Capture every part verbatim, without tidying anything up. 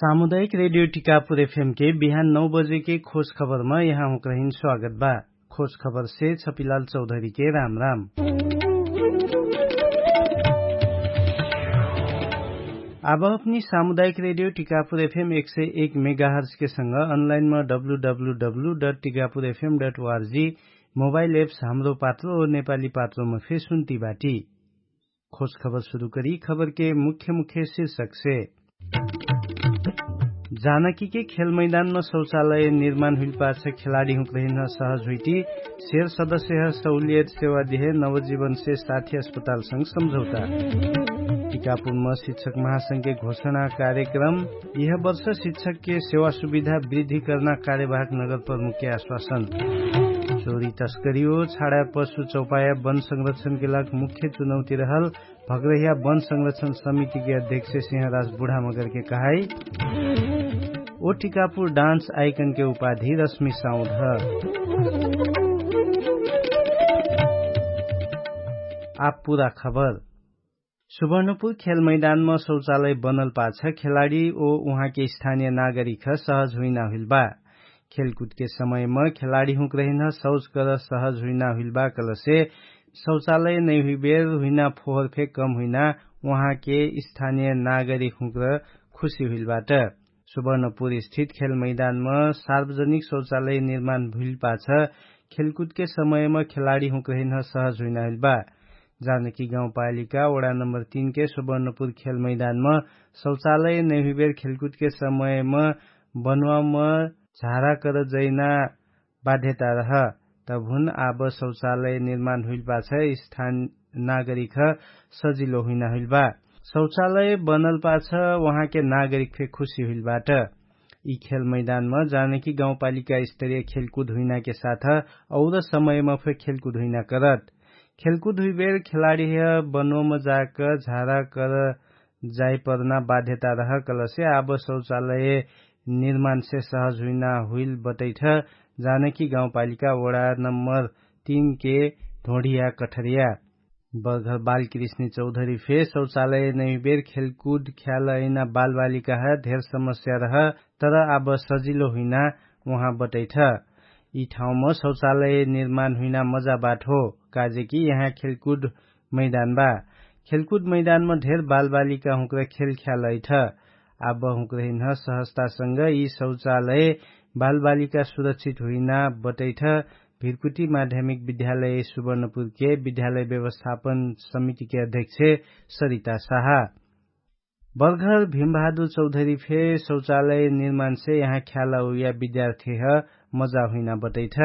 सामुदायिक रेडियो टिकापुर एफएम के बिहान नौ बजे के खोज खबरमा यहाँ हुँक्रहिन स्वागत बा। खोज खबर से छपिलाल चौधरी के राम राम। आब अपनी सामुदायिक रेडियो टिकापुर एफएम एक सय एक मेगाहर्ज के संग अनलाइन म W W W dot Tikapur FM dot ORG mobile apps Hamro Patro नेपाली पात्रोमा फेर सुन्ती बाटी। खोज खबर सुरु करी खबर के मुख्य मुख्य शीर्षक से। जानकी के खेल मैदानमा शौचालय निर्माण हुइल पाछ खेलाडी हुँक रहिन सहज हुइटी। सेर सदस्य ह सहुलियत सेवा देहे नवजीवन से साथी अस्पतालसँग सम्झौता। टिकापुरमा शिक्षक महासंघ के घोषणा कार्यक्रम। यह वर्ष शिक्षक के सेवा सुविधा वृद्धि कर्ना कार्यवाहक नगर प्रमुख के आश्वासन। चोरी तस्करी हो छाडा पशु चौपाया वन संरक्षण के लाग मुख्य चुनौती रहल। भग्रहिया वन संरक्षण समिति के अध्यक्ष सिंहराज बुढामगर के कहाई। ओ टिकापुर डान्स आइकन के उपाधि रश्मि साउद ह। आप पुरा खबर। सुवर्णपुर खेल मैदानमा शौचालय बनल पाछ खेलाडी ओ उहाँके स्थानिय नागरिक ह सहज हुइना हुइल बा। खेलकुदके समयमा खेलाडी हुँक्रहिन शौच कर सहज हुइना हुइल बा कलसे शौचालय नैहुइबेर हुइना फोहर फे कम हुइना उहाँके स्थानिय नागरिक हुँक्र खुशी हुइल बाट। सुवर्णपुर स्थित खेल मैदानमा सार्वजनिक शौचालय निर्माण भुइल पाछ खेलकुदके समयमा खेलाडी हुँक्रहिन सहज हुइना हुइल बा। जानकी गाउँपालिका वडा नम्बर तीन के सुवर्णपुर खेल मैदानमा शौचालय नैहुइबेर खेलकुदके समयमा बनुवामा झारा कर जैना बाध्यता रह। तबहुन आब शौचालय निर्माण हुइल पाछ स्थान नागरिक ह सजिलो हुइना हुइल बा। शौचालय बनल पाछ उहाँके नागरिक फे खुशी हुइल बाट। यि खेल मैदानमा जानकी गाउँपालिका स्तरीय खेलकुद हुइनाके साथ और समयमा फे खेलकुद हुइना करत। खेलकुद हुइबेर खेलाडी ह बनोमा जाक झारा कर जाइपर्ना बाध्यता रह कलसे आब शौचालय निर्माणसे सहज हुइना हुइल बटैठ। जानकी गाउँपालिका वडा नम्बर तीन के ढोढिया कठरिया बर्घर बालकृष्णी चौधरी फे शौचालय नैबेर खेलकुद ख्याल अइना बालबालिका ह धेर समस्या रह। तर आब सजिलो हुइना उहाँ बटैठ। यि ठाउँम शौचालय निर्माण हुइना मजा बाट हो। काजेकि यहाँ खेलकुद मैदान बा। खेलकुद मैदानमा धेर बालबालिका हुँक्र खेल ख्याल अइठ। आब हुँक्र हिन्ह सहजतासँग यि शौचालय बालबालिका सुरक्षित हुइना बटैठ। भिरकुटी माध्यमिक विद्यालय सुवर्णपुरके विद्यालय व्यवस्थापन समितिके अध्यक्ष सरिता साहा। बर्घर भिमबहादुर चौधरी फे शौचालय निर्माणसे यहाँ ख्याला उया विद्यार्थीह मजा हुइना बटैठ।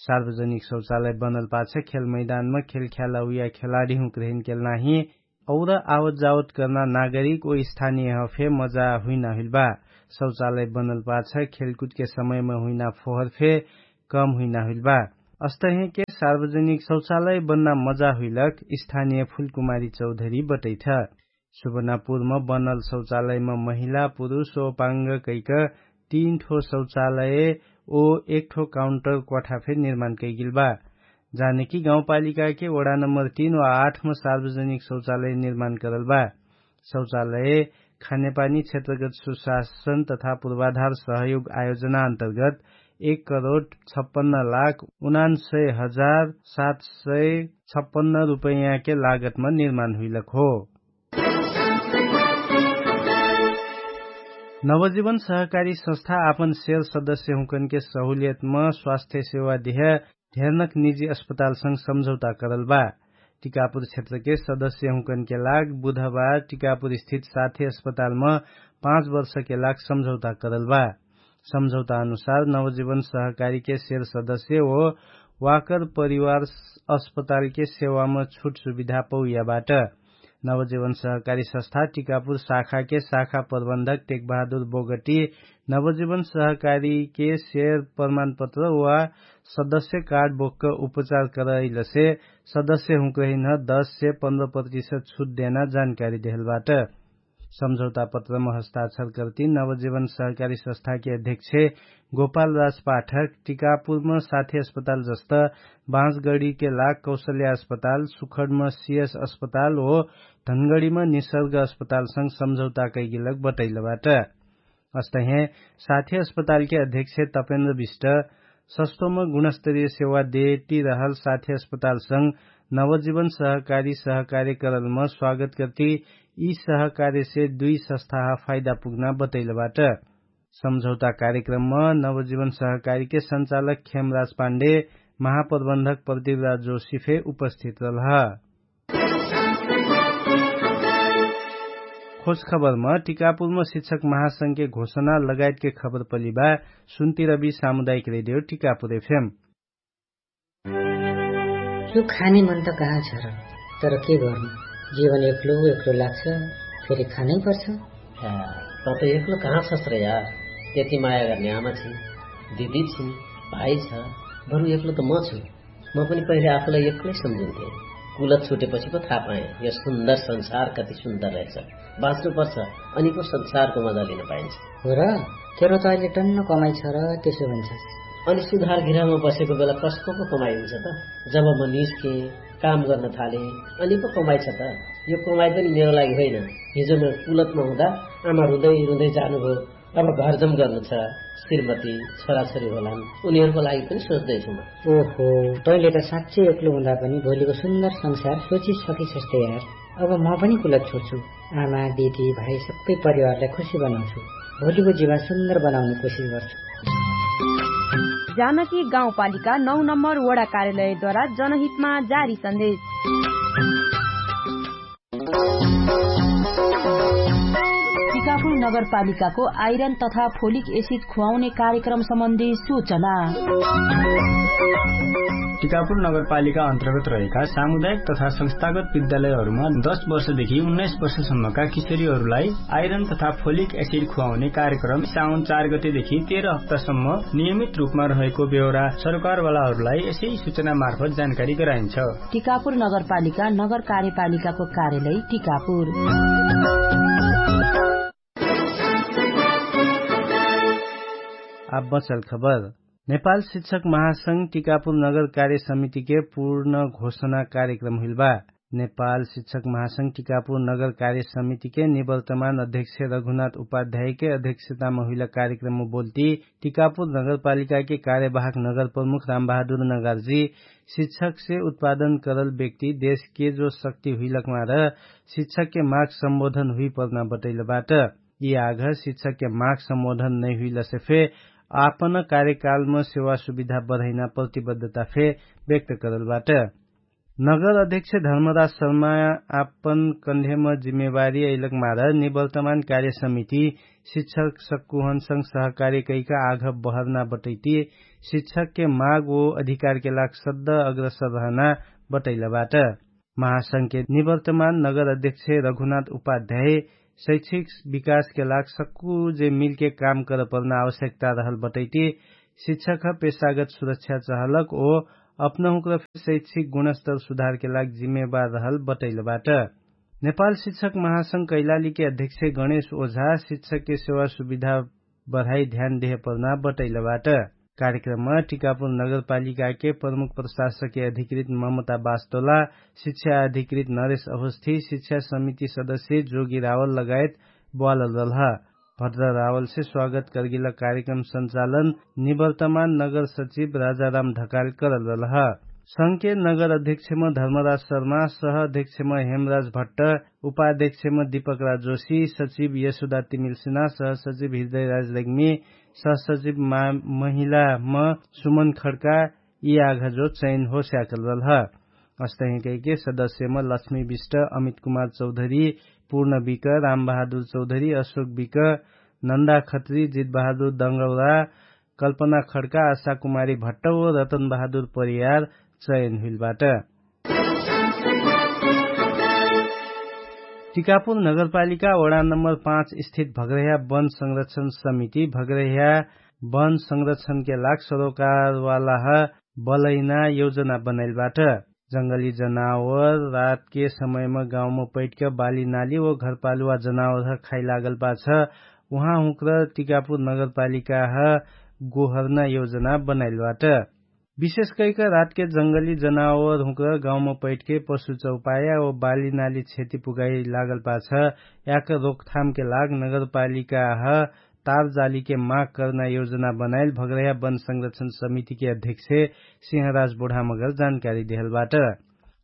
सार्वजनिक शौचालय बनल पाछ खेल मैदानमा खेल ख्याला उया खेलाडी हुँक्र हिन्केल नाही और आवत जावत कर्ना नागरिक ओ स्थानियह फे मजा हुइना हुइल बा। शौचालय बनल पाछ खेलकुदके समयमा हुइना फोहर फे कम हुइना हुइल बा। अस्तहेके सार्वजनिक शौचालय बन्ना मजा हुइलक स्थानिय फुलकुमारी चौधरी बटैठ। सुवर्णापुरमा बनल शौचालयमा महिला पुरुष ओ पाङ्ग कैक तीन ठो शौचालय ओ एक ठो काउन्टर क्वाठा फे निर्माण कैगिल बा। जानेकी गाउँपालिकाके वडा नम्बर तीन वा आठमा सार्वजनिक शौचालय निर्माण करल बा। शौचालय खानेपानी क्षेत्रगत सुशासन तथा पूर्वाधार सहयोग आयोजना अन्तर्गत एक करोड छप्पन्न लाख उनान्सय हजार सात सय छप्पन्न रुपैयाँके लागतमा निर्माण हुइलक हो। नवजीवन सहकारी संस्था आपन सेल सदस्य हुँकनके सहुलियतमा स्वास्थ्य सेवा देह ढेरनक निजी अस्पतालसँग सम्झौता करल बा। टिकापुर क्षेत्रके सदस्य हुँकनके लाग बुधबार टिकापुर स्थित साथ्य अस्पतालमा पाँच वर्षके लाग सम्झौता करल बा। सम्झौता अनुसार नवजीवन सहकारीके सेर सदस्य ओ वाकर परिवार अस्पतालके सेवामा छुट सुविधा पौया बाट। नवजीवन सहकारी सस्था टिकापुर शाखाके शाखा प्रबन्धक टेकबहादुर बोगटी नवजीवन सहकारीके सेर प्रमाणपत्र वा सदस्य कार्ड बोक्क उपचार करैलसे सदस्य हुँक्रहिन्ह दस से पन्ध्र प्रतिशत छुट देना जानकारी देहलबाट। सम्झौता पत्रम हस्ताक्षर कर्ति नवजीवन सहकारी सस्थाके अध्यक्ष गोपाल राजपाठक टिकापुरम साथी अस्पताल जस्त बाँसगडीके लाग कौशल्या अस्पताल सुखडम सियस अस्पताल हो धनगडीम निसर्ग अस्पतालसँग सम्झौता कैगिलक बटैलबाट। अस्तहे साथी अस्पतालके अध्यक्ष तपेन्द्र विष्ट सस्तोम गुणस्तरीय सेवा देटी रहल साथी अस्पतालसँग नवजीवन सहकारी सहकार्यकरणम स्वागत कर्ति यि सहकार्यसे दुइ सस्थाह फाइदा पुग्ना बतैलबाट। सम्झौता कार्यक्रमम नवजीवन सहकारीके सञ्चालक खेमराज पाण्डे महाप्रबन्धक प्रदीपराज जोशी फे उपस्थित रहलह। खोजखबरम टिकापुरम शिक्षक महासंघके घोषणा लगायतके खबर पलिबा। सुन्तिरबी सामुदायिक रेडियो टिकापुर एफएम। यो खाने मन त कहाँ छ र? तर के गर्नु? जीवन एक्लो एक्लो लाग्छ। फेरि खानै पर्छ। त त एक्लो कहाँ छस् र यार? यति माया गर्ने आमा छिन्, दिदी छिन्, भाइ छ। बरु एक्लो त म छु। म पनि पहिले आफूलाई एक्लै सम्झिन्थे। कुलत छुटेपछि पो थाहा पाएँ यो सुन्दर संसार कति सुन्दर रहेछ। बाँच्नुपर्छ, अनि पो संसारको मजा लिन पाइन्छ। हो र? तेरो त अहिले टन्न कमाइ छ र त्यसो भन्छस्। अनि सुधार घिरामा बसेको बेला कसको पो कमाइ हुन्छ त? जब म निस्केँ, काम गर्न थालेँ, अनि पो कमाइ छ त? यो कमाइ पनि मेरो लागि होइन। हिजो म कुलतमा हुँदा आमा रुँदै रुँदै जानुभयो। अब घरजम गर्नु छ। श्रीमती, छोराछोरी होलान्, उनीहरूको लागि पनि सोच्दैछु म। ओहो, तैँले त साँच्चै एक्लो हुँदा पनि भोलिको सुन्दर संसार सोचिसकिसस् त यार। अब म पनि कुलत छोड्छु। आमा, दिदी, भाइ सबै परिवारलाई खुसी बनाउँछु। भोलिको जीवन सुन्दर बनाउने कोसिस गर्छु। जानकी गाउँपालिका नौ नम्बर वडा कार्यालयद्वारा जनहितमा जारी सन्देश। टिकापुर नगरपालिकाको आइरन तथा फोलिक एसिड खुवाउने कार्यक्रम सम्बन्धी सूचना। टिकापुर नगरपालिका अन्तर्गत रहेका सामुदायिक तथा संस्थागत विद्यालयहरूमा दस वर्षदेखि उन्नाइस वर्षसम्मका किशोरीहरूलाई आइरन तथा फोलिक एसिड खुवाउने कार्यक्रम साउन चार गतेदेखि तेह्र हप्तासम्म नियमित रूपमा रहेको बेहोरा सरकारवालाहरूलाई यसै सूचना मार्फत जानकारी गराइन्छ। टिकापुर नगरपालिका नगर कार्यपालिकाको कार्यालय टिकापुर। आब बचल खबर। नेपाल शिक्षक महासंघ टिकापुर नगर कार्य समितिके पूर्ण घोषणा कार्यक्रम हुइल बा। नेपाल शिक्षक महासंघ टिकापुर नगर कार्य समितिके निवर्तमान अध्यक्ष रघुनाथ उपाध्यायके अध्यक्षतामा हुइल कार्यक्रममा बोल्ती टिकापुर नगरपालिकाके कार्यवाहक नगर प्रमुख रामबहादुर नगार्जी शिक्षकसे उत्पादन करल व्यक्ति देशके जो शक्ति हुइलकमा र शिक्षकके माग सम्बोधन हुइपर्ना बटैलबाट। यि आघ शिक्षकके माग सम्बोधन नैहुइलसे फे आपन कार्यकालम सेवा सुविधा बढैना प्रतिबद्धता फे व्यक्त करलबाट। नगर अध्यक्ष धर्मराज शर्मा आपन कन्धेम जिम्मेवारी अइलक मार निवर्तमान कार्य समिति शिक्षक सक्कुहनसँग सहकार्य कैका आघ बहर्ना बटैती शिक्षकके माग ओ अधिकारके लाग सद्ध अग्रसर रहना बटैलबाट। महासंघके निवर्तमान नगर अध्यक्ष रघुनाथ उपाध्याय शैक्षिक विकासके लाग सक्कु जे मिलके काम करपर्ना आवश्यकता रहल बटैती शिक्षक पेशागत सुरक्षा चहलक ओ अपनहुँक्र शैक्षिक गुणस्तर सुधारके लाग जिम्मेवार रहल बटैलबाट। नेपाल शिक्षक महासंघ कैलालीके अध्यक्ष गणेश ओझा शिक्षकके सेवा सुविधा बढाइ ध्यान देहपर्ना बटैलबाट। कार्यक्रममा टिकापुर नगरपालिकाके प्रमुख प्रशासके अधिकृत ममता बास्तोला, शिक्षा अधिकृत नरेश अवस्थी, शिक्षा समिति सदस्य जोगी रावल लगायत ब्वालल रहलह। भद्र रावलसे स्वागत कर्गिला कार्यक्रम सञ्चालन निवर्तमान नगर सचिव राजाराम ढकाल करल रहलह। संघके नगर अध्यक्षम धर्मराज शर्मा, सह अध्यक्षम हेमराज भट्ट, उपाध्यक्षम दीपकराज जोशी, सचिव यशोदा तिमिल्सिना, सह सचिव हृदयराज रेग्मी, सह सचिव महिलाम सुमन खड्का यि आघजो चयन हो स्याकल रहलह। अस्तहिकैके सदस्यम लक्ष्मी विष्ट, अमित कुमार चौधरी, पूर्ण विक, रामबहादुर चौधरी, अशोक विक, नन्दा खत्री, जितबहादुर दङ्गौरा, कल्पना खड्का, आशा कुमारी भट्ट ओ रतनबहादुर परियार चयन हुइलबाट। टिकापुर नगरपालिका वडा नम्बर पाँच स्थित भग्रह्या वन संरक्षण समिति भग्रह्या वन संरक्षणके लाग सरोकारवालाह बलैना योजना बनैलबाट। जंगली जनावर रातके समयमा गाउँमा पैठक बाली नाली ओ घरपालुवा जनावरह खाइ लागल पाछ उहाँ हुँक्र टिकापुर नगरपालिकाह गोहर्ना योजना बनैलबाट। विशेष कैक रातके जंगली जनावर हुँक्र गाउँमा पैठके पशु चौपाया ओ बाली नाली क्षति पुगाइ लागल पाछ याक रोकथामके लाग नगरपालिकाह तारजालीके माग कर्ना योजना बनाइल भग्रह्या वन संरक्षण समितिके अध्यक्ष सिंहराज बुढामगर जानकारी देहल बाट।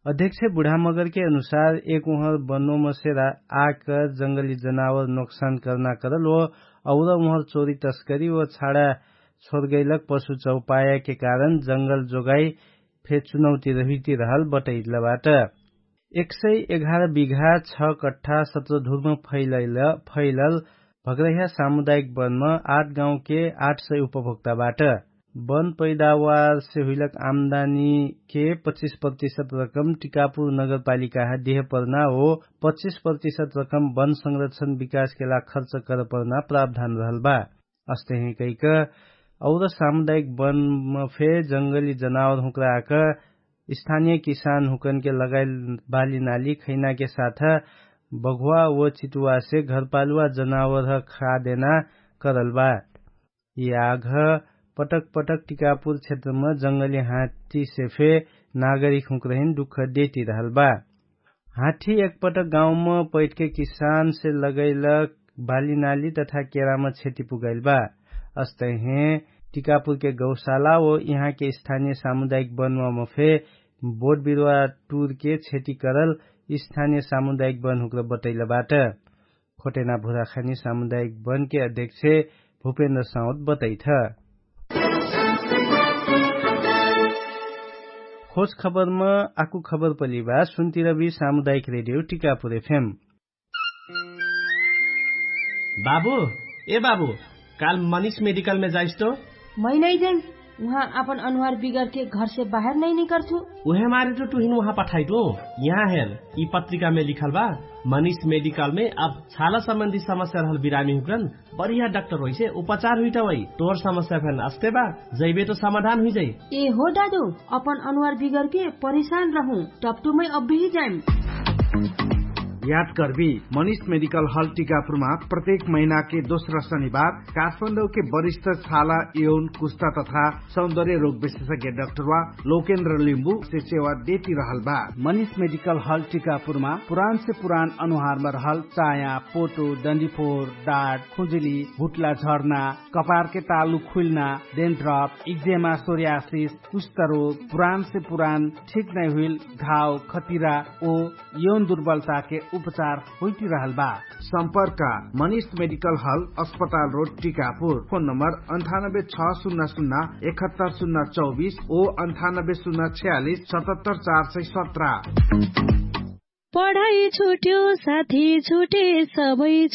अध्यक्ष बुढामगरके अनुसार एक उहर बनोमसे आक जंगली जनावर नोक्सान कर्ना करल ओ और उहर चोरी तस्करी ओ छाडा छोरगैलक पशु चौपायाके कारण जंगल जोगाई फे चुनौती रहिती रहल बटैलबाट। एक सय एघार बिघा छ कठ्ठा सत्र धुर्म फैलल भग्रह्या सामुदायिक वनमा आठ गाउँके आठ सय उपभोक्ताबाट वन पैदावारसे हुइलक आमदानीके पच्चिस प्रतिशत रकम टिकापुर नगरपालिकाह देहपर्ना हो। पच्चिस प्रतिशत रकम वन संरक्षण विकासके लाग खर्च करपर्ना प्रावधान रहल बा। अस्तहे कैक और सामुदायिक वनमा फे जंगली जनावर हुँक्राक स्थानिय किसान हुँकनके लगाइल बाली नाली खैनाके साथ बघुवा व चितुवासे घरपालुवा जनावर खादेना करल बा। यि आघ पटक पटक टिकापुर क्षेत्रमा जंगली हाथीसे फे नागरिक हुँक्रहिन दुख देती रहल बा। हाथी एकपटक गाउँमा पैठके किसानसे लगैलक बाली नाली तथा केरामा क्षति पुगाइल बा। अस्तहे टिकापुरके गौशाला ओ यहाँके स्थानिय सामुदायिक वनमा फे बोट बिरुवा टुरके क्षति करल स्थानिय सामुदायिक वन हुँक्र बटैल बाट। खोटेना भुराखानी सामुदायिक वनके अध्यक्ष भुपेन्द्र साउद बतैथ। खोज खबरमा आकु खबर पलिबा सुन्तिरबी सामुदायिक रेडियो टिकापुर एफएम। बाबु, ए बाबु, काल मनिष मेडिकलमे जाइस तो? मै नै जाइम। उहाँ आपन अनुहार बिगरके घरसे बाहेर नै निकर्छु। उहे मारे तो टुहिन उहाँ पठाइटु। यहाँ हेर, यि पत्रिकामे लिखल बा, मनिष मेडिकलमे अब छाला सम्बन्धी समस्या रहल बिरामी हुँकरन बढिया डाक्टर होइसे उपचार हुइटवै। तोर समस्या फेन अस्ते बा, जैबे तो समाधान हुइजै। ए हो दादु, अपन अनुहार बिगरके परिशान रहु, टप्टुमै अब्बेही जाइम। याद कर्बी, मनिष मेडिकल हल टिकापुरमा प्रत्येक महिनाके दोस्रा शनिबार काठमाडौके वरिष्ठ छाला यौन कुस्ता तथा सौन्दर्य रोग विशेषज्ञ डाक्टरवा लोकेन्द्र लिम्बुसे सेवा देती रहल बा। मनिष मेडिकल हल टिकापुरमा पुरानसे पुरान अनुहारमा रहल चाया, पोटो, डन्डीफोर, डाट, खुजुली, हुट्ला झर्ना, कपारके तालु खुइल्ना, डेन्ड्रप, इक्जेमा, सोर्यासिस, कुष्ठरोग, पुरानसे पुरान ठिक नै हुइल घाव, खतिरा ओ यौन दुर्बलताके उपचार होइतिरहल बा। सम्पर्क, मनिष मेडिकल हल, अस्पताल रोड, टिकापुर। फोन नम्बर अन्ठानब्बे छ सुन्ना सुन्ना एकहत्तर सुन्ना चौबिस ओ अन्ठानब्बे सुन्ना छयालिस सतहत्तर चार सय सत्र। पढाइ छुट्यो, साथी छुटे, सबै